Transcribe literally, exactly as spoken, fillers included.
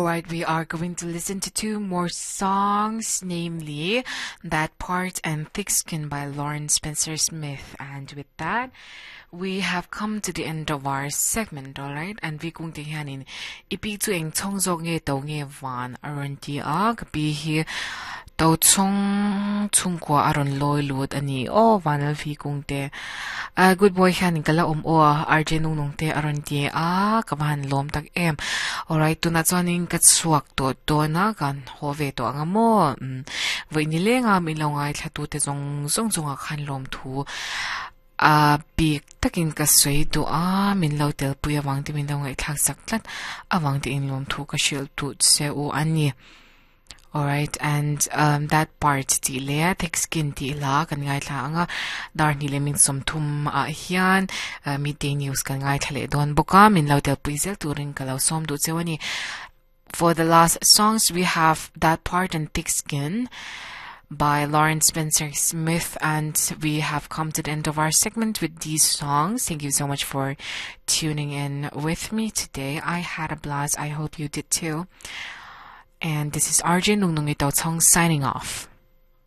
Alright, we are going to listen to two more songs, namely That Part and Thick Skin by Lauren Spencer Smith. And with that, we have come to the end of our segment, alright? And vi kung te hianin ipi chu eng chong zawk nge to nge van aron ti a ka pi hi to chong chung kwa aron loi lut ani o vanal vi kung te a good boy hianin kala om o RJ nung nung te aron ti a ka van lom tak em alright tuna chuanin ka chuak to to na kan ho ve to anga mo voi ni le nga mi lo ngai thla tu te zong zong zong a khan lom thu a bik takin ka soi tu a min lo tel puya wang ti min lo ngai thlak sak tlat awang ti in lom thu ka shil tu se u ani Alright, and um, that part ti le thick skin ti la kan ngai thla anga dar ni le min som thum a hian uh, midday news kan ngai thla le don boka min lo tel pui zel turin ka lo som du chewani For the last songs we have that part and thick skin by Lauren Spencer Smith and we have come to the end of our segment with these songs. Thank you so much for tuning in with me today. I had a blast. I hope you did too. And this is RJ Nung Nung Ito Tong signing off.